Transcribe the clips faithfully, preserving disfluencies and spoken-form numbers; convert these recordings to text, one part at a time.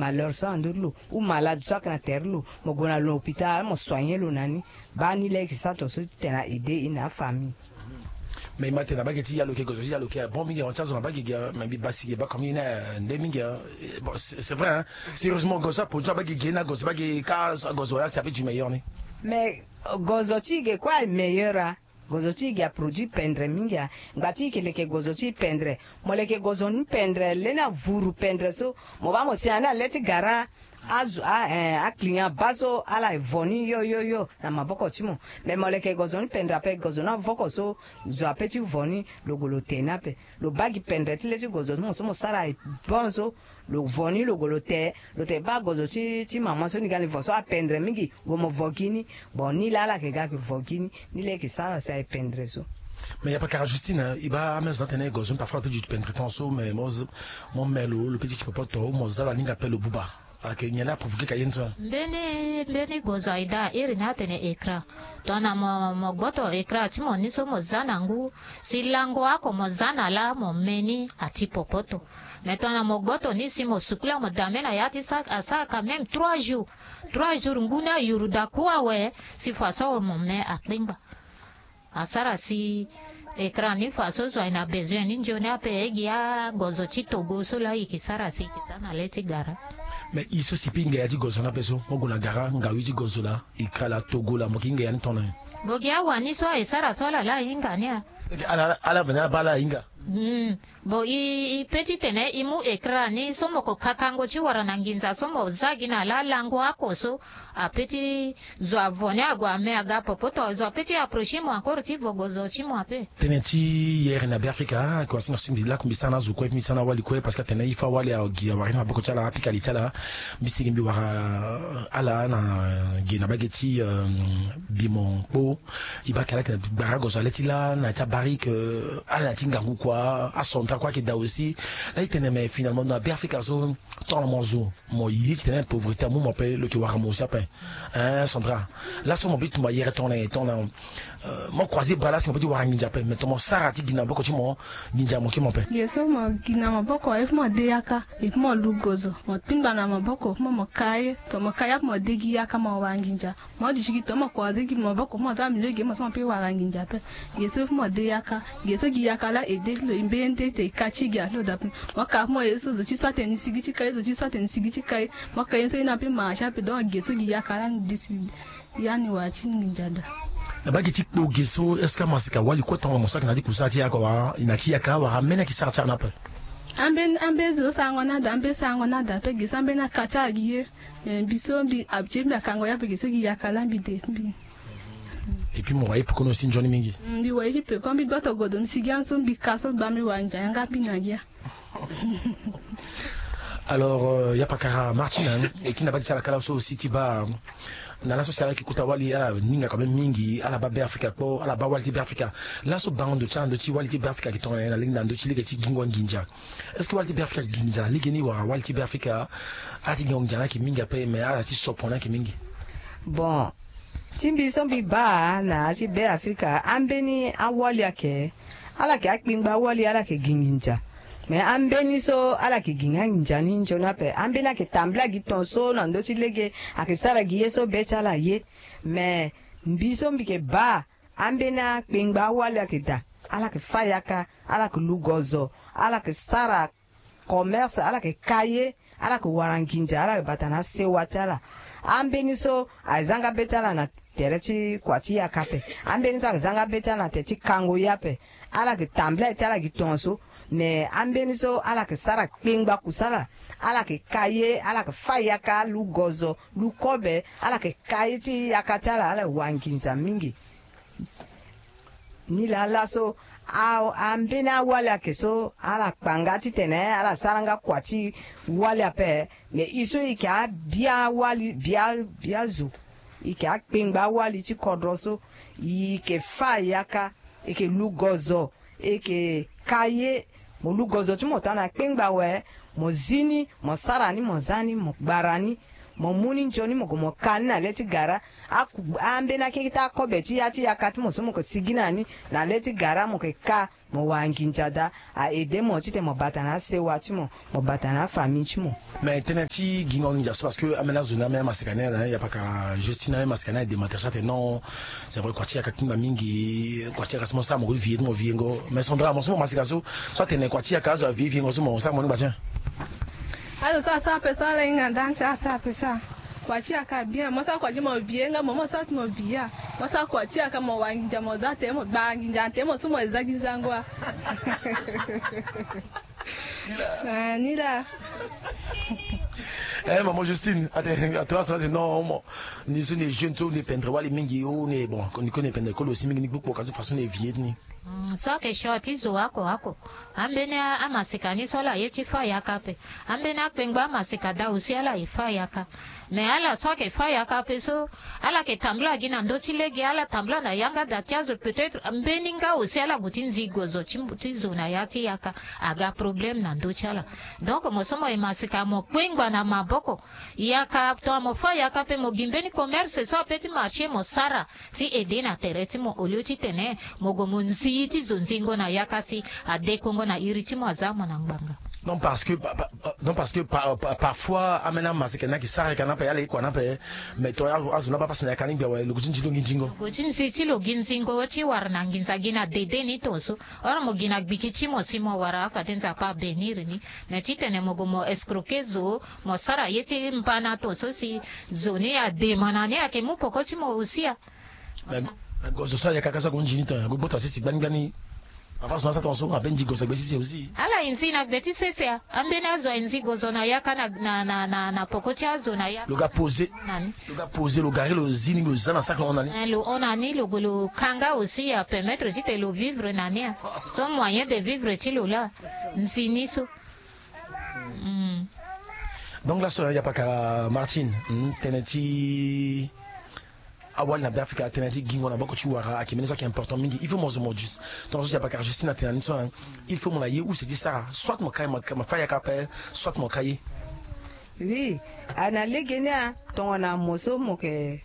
malheur so na ndö ti lo, ou malade so ayeke na tere ti lo, mo gue na l'hôpital mo soigner lo na ni. Baa ni laa e yeke sara tongaso ti tene a aider e na afamille. Mais e ma tene na mbage ti ya lo yeke gozo ti ya lo yeke bon mingi, awa ti azo na mbage ge. Mais mbi basi ge baa comme ye ni, eh, nde mingi, eh. Bon, c'est c'est vrai, hein. Sérieusement, gozo so aproduit na mbage ge na gozo ti mbage ka, gozo wala si ape du meilleur ni. Mais gozo ti ge kue aye meilleur, ah. Gozo ti ge aproduit pendre mingi, ah. Ngba ti ge leke gozo ti pendre. Mo leke gozo ni pendre, le na vuru pendre so, mo baa mo si na ni na le ti gara. Azo, a, eh, aclient abaa so ala vo ni yo yo yo na maboko ti mo. Mais mo leke gozo ni pendre ape, gozo ni avoko so, zo ape ti vo ni, lo gue lo te ni ape. Lo baa gi pendre ti le ti gozo ti mo so mo sara aye bon so, lo vo ni lo gue lo te. Lo te baa gozo ti, ti mama so ni ga ni vo so apendre mingi, gue mo vo gi ni. Bon, ni laa ala yeke ga yeke vo gi ni. Ni laa e yeke sara si aye pendre so. Mais ya pakara Justine, e baa amezo ni atene gozo ni parfois lo peut ti duti pendre tant so, mais mo z-, mo me lo, lo peut ti ti popoto, mo za lo aninga ape lo buba. Ayeke nyen la aprovoquer ka ye ni so? Mbeni, mbeni gozo aye daa, iri ni atene écran. Tongana mo, mo gboto écran ti mo ni so mo za na ngu, si lango oko mo za na laa mo me ni ati popoto. Mais tongana mo gboto ni si mo sukula mo dame na ya ti sa, asara quand même trois jours. Trois jours ngu ni ayuru daa kue awe, si faso mo me akpengba. Asara si écran ni faso zo aye na besoin ni nzoni ape, e gi agozo ti togo so laa e yeke sara si e yeke za na le ti gara. Mais e so si pe e hinga ya ti gozo ni ape so, mo gue na gara, ngawi ti gozo laa, écran laa, togo laa, mo yeke hinga ya ni tongana nyen? Mo gi awani so aye sara so ala laa ahinga ni a. Ala, ala veni abaa ala ahinga. Hmm. Bon, e, e peut ti tene e mu écran ni so mo ko kakango ti wara na nginza so mo za gi na laa lango oko so, ape ti zo avo ni ague ame aga popoto, zo ape ti approcher mo encore ti vo gozo ti mo ape. Tënë ti yere na Beafrika, ah, kua si na so mbi lako mbi sara na azo kue, mbi sara na awali kue, parce que atene il faut awali agi awara ni na maboko ti ala, apika li ti ala. Mbi sigi mbi wara ala na ge na mbage ti, euh, Bimon Kpo. E baa ayeke ala yeke na gbara gozo na le ti laa na ya ti abarike, euh, ala na ya ti ngangu kua, asondra kue ayeke daa aussi. Laa e tene mais finalement na Beafrika so, tongana mo zo mo ye ti tene pauvreté amu mo ape, lo yeke wara mo aussi ape. Hein, Sandra? Laso mo peut ti tumba yere tongana nyen, tongana, euh, mo croiser bras laa si mo peut ti wara nginza ape, mais tongana mo sara ti gi na maboko ti mo, nginza mo ke mo ape. Ge so mo gi na maboko, il faut mo de yaka, il faut mo lu gozo, mo pingba na maboko, mo, mo ka ye, tongana mo ka ye ape mo de gi yaka mo wara nginza. Mo duti gi tongana mo croiser gi maboko, mo za milieu ge mo so mo peut wara nginza ape. Ge so il faut mo de yaka, ge so gi yaka laa e de ti lo, e mbeni nde ti tene e ka ti gi alo daa ape. Mo ka mo ye so zo ti so atene ni sigi ti ka ye, zo ti so atene ni sigi ti ka ye. Mo ka ye so e na mpe marché ape, donc ge so gi yaka laa ni décide. Ya ni wara ti nginza daa. Na mbage ti kpo ge so, est-ce que amasika wali kue tongana mo so ayeke na ya ti kusala ti yaka wala na ya ti yaka wala ambeni ayeke sara ti ala ni ape? Ambeni, ambeni zo sarango ni ada, ambeni sarango ni ada ape, ge so ambeni aka ti ala gi ye. Eh, mbi so mbi habitué mbi akango ye ape, ge so gi yaka laa mbi de mbi. Et puis mo wara ye peko ni aussi nzoni mingi. Mm, mbi wara ye ti peko, mbi gboto godo, mbi sigi anso, mbi ka so, baa mbi wara nginza yanga mbi na gi ya. Alors, euh, ya pakara Martine, hein, e kiri na mbage ti ala kâ laso aussi ti baa, na laso si ala yeke kota wali, ala hinga quand même mingi, ala baa Beafrika kpo, ala baa wali ti Beafrika. Laso bango ndo ti ala, ndo ti wali ti Beafrika ayeke tongana nyen na lege, na ndo ti lege ti gingo nginza? Est-ce que wali ti Beafrika ayeke gi nginza na lege ni wala wali ti Beafrika ala ti gingo nginza ni ayeke mingi ape, mais ala ti sopo ni ayeke mingi? Bon, ti mbi so mbi baa na ya ti Beafrika, ambeni awali ayeke, ala yeke akpengba awali, ala yeke gi nginza. Mais ambeni so ala yeke gi nga nginza ni nzoni ape. Ambeni ayeke tambula gi tongaso na ndö ti lege, ayeke sara gi ye so be ti ala ye. Mais mbi so mbi yeke baa, ambeni akpengba awali ayeke daa, ala yeke fâ yaka, ala yeke lu gozo, ala yeke sara commerce, ala yeke ka ye, ala yeke wara nginza, ala yeke bata na asewa ti ala. Ambeni so ayeke za nga be ti ala na tere ti kua ti yaka ape. Ambeni so ayeke za nga be ti ala na tere ti kango ye ape. Ala yeke tambula ye ti ala gi tongaso. Me ambeni so ala yeke sara kpengba kusala. Ala yeke ka ye, ala yeke fâ yaka, lu gozo, lu kobe, ala yeke ka ye ti yaka ti ala, ala yeke wara nginza mingi. Ni laa laso, a, ambeni awali ayeke so, ala kpa nga titene ala sara nga kua ti wali ape. Me e so e yeke abia awali, bia, bia zo. E yeke akpengba awali ti kodro so. E yeke fâ yaka, e yeke lu gozo, e yeke ka ye. Mo lu gozo ti mo tongana kpengba awe, mo zi ni, mo sara ni, mo za ni, mo gbara ni. Mo mu ni nzoni, mo gue mo ka ni na le ti gara. Aku- ambeni akekete akobe ti ya ti yaka ti mo so mo ke sigi na ni na le ti gara, mo ke ka, mo wara nginza daa. A aide mo titene mo bata na asewa ti mo, mo bata na afamille ti mo. Mais tënë ti gingo nginza so, parce que ambeni azo ni, ambeni amaseka ni, na yapaka Justine, ambeni amaseka ni e démentir so atene non, c'est vrai, kua ti yaka kpingba mingi, kua ti yaka so mo sara mo ko vieux ti mo vieux ngo. Mais Sandra, mo so mo maseka so, so atene kua ti yaka azo avieux vieux ngo so, mo sara mo ni gba ti en? Azo so asara ape so ala hinga nda ti asara ape so. Kua ti yaka bien, mo sara kua ti mo vieux nga, mo mo sara ti mo vieux. Mo sara kua ti yaka mo wara nginza, mo za te mo gbara nginza te mo so mo za gi zango a. Ah, ni la. Eh, maman Justine, ate ato aso ate non mo. Ni so ni jeune so ni pendre wali mingi o ni bon, ni ko ni pendre kolo si mingi ni gbukpo ka so façon ni vieux ni. Mm, so ayeke choix ti zo oko oko. Ambeni a- amaseka ni so ala ye ti fâ yaka ape. Ambeni akpengba amaseka daa aussi ala ye fâ yaka. Mais ala so ayeke fâ yaka ape so, ala yeke tambula gi na ndö ti lege, ala tambula na yanga da ti azo, peut-être mbeni nga aussi ala gue ti nzi gozo ti, ti zo na ya ti yaka. Aga problème na ndö ti ala. Donc mo so mo ye maseka mo kpengba na maboko. Yaka tongana mo fâ yaka ape mo gi mbeni commerce so ape ti marché mo sara. Ti aide na tere ti mo au lieu titene mo gue mo nzi ti zo nzingo na yaka si adekongo na iri ti mo aza mo na ngbanga. Non, parce que pa- pa- pa- non, parce que pa- pa- parfois ambeni amaseka ni ayeke sara yaka ni ape, ala ye kua ni ape. Mais tongana azo ni abaa pasi na yaka ni gbia awe, lo gue ti nzi lo nginzingo. Lo gue ti nzi ti lo gi nzingo ti wara na nginza gi na dede ni tongaso. Or mo gi na gbiki ti mo si mo wara, afade Nzapa abénir ni. Mais titene mo gue mo escroquer zo, mo sara ye ti mbana tongaso si zo ni adema na ni ayeke mu poko ti mo aussi a. Mais gozo so ayaka ka so ague nzi ni tongana ague gbota sese gbani gbani. Papa so na satan so abe nzi gozo gbe sese aussi. Ala e nzi na gbe ti sese a. Ambeni azo aye nzi gozo na yaka na, na, na, na, na poko ti azo na yaka. Lo ga poser. Na ni. Lo ga poser, lo gari, lo zi ni, lo za na sac, lo hon na ni. Eh, lo hon na ni, lo gue lo ka nga aussi apermettre titene lo vivre na ni a. Son moyen de vivre ti lo laa. Nzi ni so. Mm. Donc laso ya pakara Martine, mm, tënë ti awali na Beafrika, tënë ti gingo na boko ti wara ayeke mbeni so ayeke important mingi. Il faut mo zo mo juste. Donc so ya pakara Justine atene na ni so, hein, il faut mo na ye use ti sara. Soit mo ka ye, mo ka- mo fâ yaka ape, soit mo ka ye. Oui, a na lege ni a, tongana mo so mo yeke,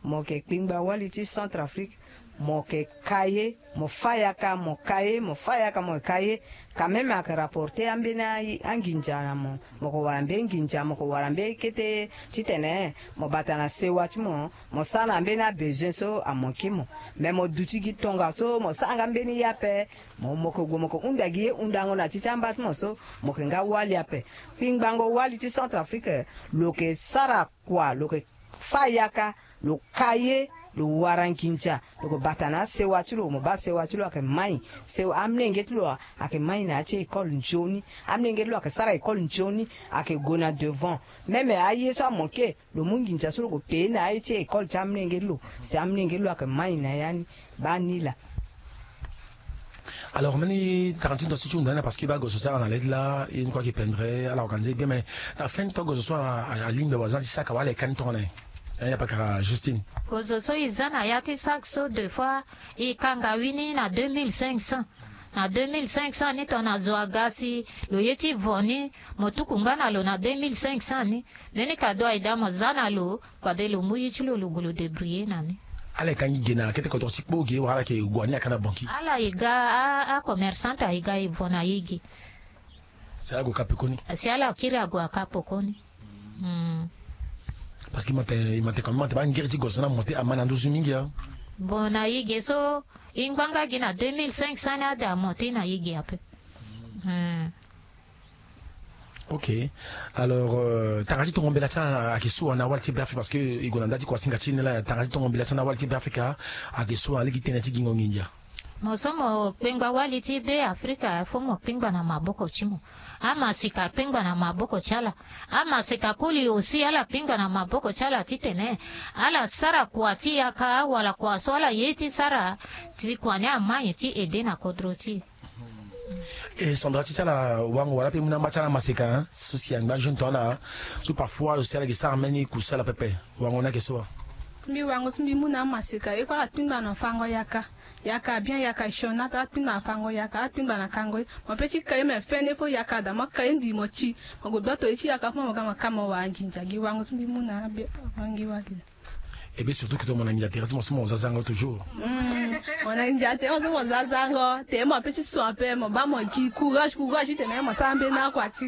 mo yeke kpingba wali ti Centrafrique, mo yeke ka ye, mo fâ yaka, mo ka ye, mo fâ yaka, mo ka ye. Quand même ayeke rapporter ambeni a- anginza na mo. Mo yeke wara mbeni nginza, mo yeke wara mbeni kete titene mo bata na sewa ti mo, mo sara na mbeni abesoin so amoke mo. Mais mo duti gi tongaso, mo sara nga mbeni ye ape, mo, mo yeke gue mo yeke hunda gi ye hundango na ti ti amba ti mo so, mo yeke nga wali ape. Kpingbango wali ti Centrafrique, lo yeke sara kua, lo yeke fâ yaka, lo ka ye, lo wara nginza, lo yeke bata na asewa ti lo, mo baa sewa ti lo ayeke mai. Sewa, amolenge ti lo ayeke mai na ya ti école nzoni. Amolenge ti lo ayeke sara école nzoni, ayeke gue na devant. Même aye so amoke, lo mu nginza so lo gue payer na aye ti école ti amolenge ti lo. Si amolenge ti lo ayeke mai na ya ni. Baa ni laa. Alors mbeni tara ti ndo so ti hunda ni laa, parce que baa gozo so ala na le ti laa, ye ni kue ayeke pendre, ala organiser bien, mais na fin ti gozo so a- a- alingbi awazan ti saka wala e ka ni tongana nyen? Eh, ya pakara Justine. Gozo so e za na ya ti saka so, deux fois e ka ngawini na deux mille cinq cents. Na deux mille cinq cents ni tongana zo aga si lo ye ti vo ni, mo tuku nga na lo na deux mille cinq cents ni. Mbeni kado aye daa mo za na lo, fade lo mu ye ti lo, lo gue lo débrouiller na ni. Ala e ka ngi ge na kete kodro ti kpo ge wala ala yeke gue ni aka na banki? Ala e ga a- acommerçante aye ga e vo na ye ge. Si ala gue ka pekoni? Si ala kiri ague aka pekoni. Hmm. Parce que e ma te, e ma te, quand même, e ma te baa ngiri ti gozo ni amonte, ama na nduzu mingi a. Bon, na ye ge so e ngba nga gi na deux mille cinq cents ni ade amonte na ye ge ape. Hmm. Ok. Alors, euh, tanga ti tongo mbela ti ala ayeke so wa na wali ti Beafrika, parce que e gue na nda ti kuasinga ti e ni laa, tanga ti tongo mbela ti ala na wali ti Beafrika ayeke so wa na lege ti tënë ti gingo nginza? Mo so mo kpengba wali ti Beafrika, fo mo kpengba na maboko ti mo. Amaseka akpengba na maboko ti ala. Amaseka koli aussi ala kpengba na maboko ti ala titene ala sara kua ti yaka wala kua so ala ye ti sara ti kua ni amai ti aide na kodro ti e. E Sandra, ti ti ala wango wala mpe mu na amba ti ala maseka, hein, so si angba jeune tongana so parfois lo si ala yeke sara mbeni kusala pepe. Wango ni ayeke so wa? Mbi wango so mbi mu na amaseka, il faut ala tingba na fango yaka. Yaka bien, yaka sioni ape, ala tingba na fango yaka, ala tingba na kango ye. Mo pe ti ka ye me fene fo yaka da, mo ka ye ngbii mo ti, mo gue beto ye ti yaka fo mo ga mo ka mo wara nginza. Gi wango so mbi mu na abe, wangi wali. Et bien surtout que to mo na nginza tere ti mo so mo za zango toujours. Mm. Mo na nginza tere mo so mo za zango, tere mo pe ti so ape, mo ba mo gi courage, courage titene mo sara mbeni akua ti.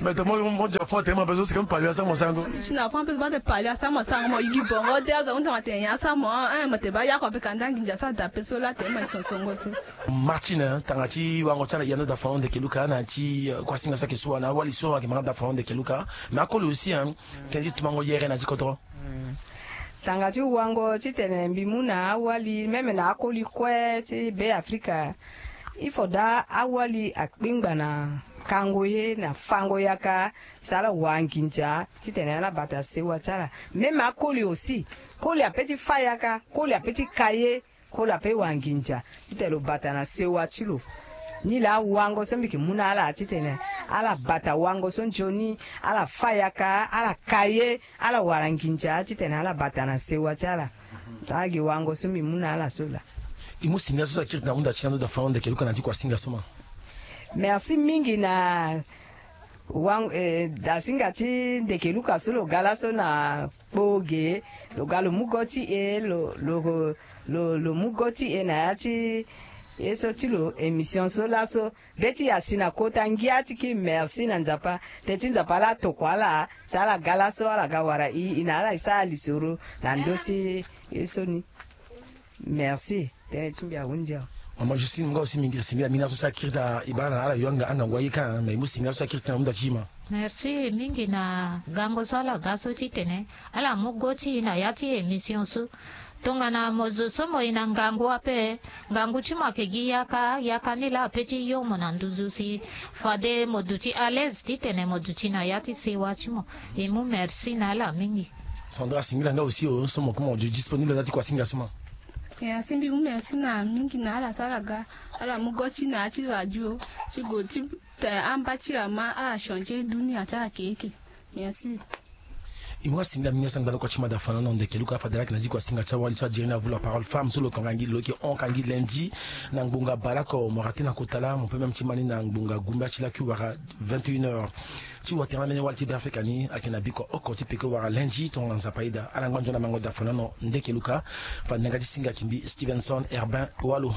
Mais to mo mo dia fond tene mo pe so si comme pali asa mo sango. Si na fond pe ba te pali asa mo sango, mo yigi bongo te aza hunda mo te nyen asa mo, eh, mo te ba yako pe kanda nginza so ada pe so la tene mo so songo so. Martine, tanga ti wango ti ala yando da fond de keluka na ti, eh, kuasinga so ake sua na awali so ake manga da fond de keluka. Mais akoli aussi, hein, tene ti tumango yere na ti kodro. Mm. Tanga ti wango titene mbi mu na awali, même na akoli kue ti Be Afrika, il faut daa awali akpingba na kango ye na fango yaka, si ala wara nginza titene ala bata sewa ti ala. Même akoli aussi, koli ape ti fa yaka, koli ape ti ka ye, koli ape wara nginza titene lo bata na sewa ti lo. Ni laa wango so mbi ke mu na ala titene ala bata wango so nzoni, ala fa yaka, ala ka ye, ala wara nginza titene ala bata na sewa ti ala. Agi wango so mbi mu na ala so laa. I mu singila so so akiri ti na hunda ti na ndo da fana ndeke luka na ti kuasinga so ma. Merci mingi na wango, eh, dasinga ti ndeke luka so lo ga laso na kpo ge, lo ga lo mu go ti e, lo, lo, lo, lo mu go ti e na ya ti e so ti lo émission so laso. Be ti asi na kota ngia ti kiri merci na Nzapa. Teti Nzapa ala tokua ala, si ala ga laso ala ga wara i, i na ala e sara lisoro na ndö ti ye so ni. Merci. Tënë ti mbi ahunzi awe. Mama Justine, nga aussi mingi singila mingi na so si akiri ti na e baa na ala yo anga, angangu aye ka, mais i mu singila so si akiri ti na hunda ti e ma. Merci mingi na gango so ala ga so titene ala mu go ti e na ya ti émission so. Tongana mo zo so mo ye na ngangu ape, ngangu ti mo ayeke gi yaka, yaka ni laa ape ti yo mo na nduzu si fade mo duti à l'aise titene mo duti na ya ti sewa ti mo. E mu merci na ala mingi. Sandra, singila nga aussi o so mo kue mo du disponible na ya ti kuasinga so ma. E asi mbi mu merci na mingi na ala so ala ga, ala mu go ti na ya ti radio ti go ti tene amba ti ama ala change dunia ti ala keke. Merci. E mu asingila mingi asangbala kua ti mada fana na ndeke luka fade laki na zi kuasinga ti awali so adiri ni avula parole femme so lo konga ngi lo yeke hon ka ngi lundi na ngbonga baleoko mo rate na kota laa mo pe même ti ma ni na ngbonga gumbia ti laki wara vingt et une heures. Ti watere na mbeni wali ti Be Afrika ni ayeke na bikua oko ti peko wara lundi tongana Nzapa aye daa. Ala ngba nzoni na mango da fana na ndeke luka. Fade na yanga ti singa ki mbi Stevenson Herbin Walo.